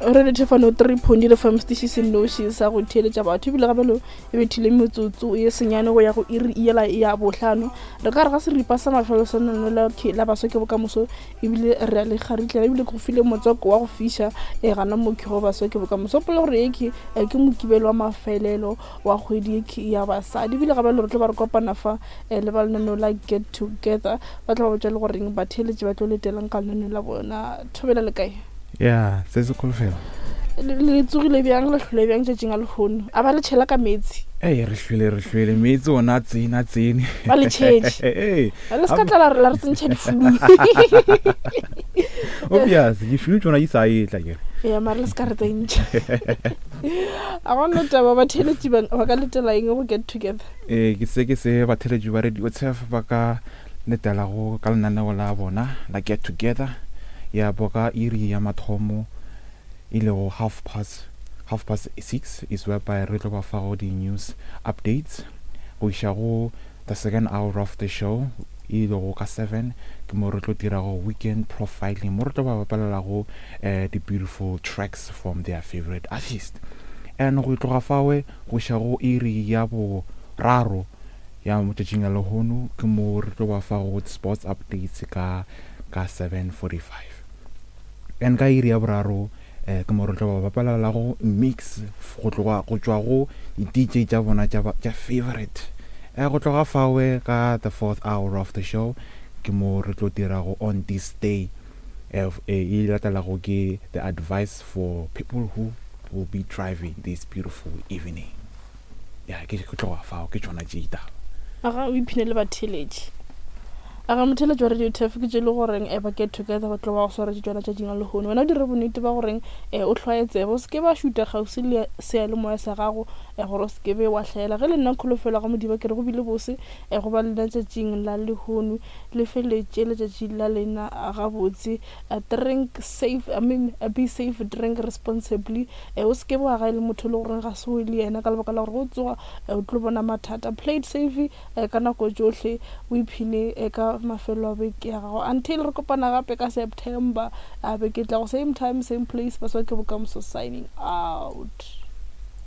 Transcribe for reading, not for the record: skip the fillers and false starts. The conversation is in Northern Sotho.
Re Thefano 3.0 FM setiši se nnoši sa go theeletša batho ebile gabelo e bethile metsotso ye senyane go ya go iri yela ya bohlano. Re ka re ga seripa sa mafelo sa lenaneo la la baswa ke bokamoso ebile re a le kgaritlela ebile ke go file motswako wa go fiša e gana mo ke go baswa ke bokamoso. Gopola gore ye ke eh, ke mokibelo wa mafelelo wa kgwedi ye ke ya basadi ebile gabelo re tlo ba re kopana fa eh, le ba lenaneo la Get Together ba tla ba botša le goreng batheeletši ba tlo letelang ka lenaneo la bona. Thobela le kae? Ya, se se kholofelo. Le le tsogile bjang, le hlwele bjang tšatšing a lehono? A ba le tšhela ka meetse? Ee, re hlwele, re hlwele. Meetse ona a tsene, a tsene. Ba le tšhetše. Ee. Le se ka tla la re la re tsentšha diflu. Obvious, diflu tšona di sa etla kere. Ya, mara le se ka re tsentšha. A gona taba, batheeletši ba ba ka letela eng go Get Together? Ee, ke se ke se batheeletši ba Radio Turf ba ka letelago ka lenaneo la bona la Get Together ya bo ka iri ya mathomo e lego half past half past six is whereby re tlo ba fago di-news updates go iša go the second hour of the show e lego ka seven ke mo re tlo dirago weekend profiling mo re tlo ba bapalelago um di-beautiful tracks from their favorite artist and go tloga fawe go iša go iri ya boraro Ya mo tšatšing la lehono ke mo re tlo ba fago sports updates ka ka 7:45. And ka iri ya boraro eh, ke mo re tlo ba bapalelago mix go tloga go tšwa go di-DJ tša bona tša tša favorite. Eh, go tloga fawe ka the fourth hour of the show ke mo re tlo dirago on this day eh, eh, e latelago ke the advice for people who will be driving this beautiful evening. Ya, ke ke tloga fao, ke tšona tše ditaba. Aga o iphine le batheeletši. Aga motheeletši wa Radio Turf ke tše le goreng eh, ba get together ba tlo ba go swaretše tšona tšatšing la lehono. Wena o dire bonnete ba goreng eh, o hlwaye tsebe, o se ke ba šuta kgauswi le seyalemoya sa gago eh, gore o se ke be wa hlaela. Ge le nna Kholofelo ga Modiba ke re go bile bose eh, go ba lena tšatšing la lehono. Le feletše letšatši la lena gabotse. Drink safe, I mean be safe, drink responsibly. E, o se ke wa gae le motho e le goreng ga se o le yena ka lebaka la gore go tsoga e, o tlo bona mathata. Play it safe e, ka nako tšohle o iphine e, ka mafelo a beke ya gago. Until re kopana gape ka September a beke tlago, same time same place, Baswa ke Bokamoso signing out.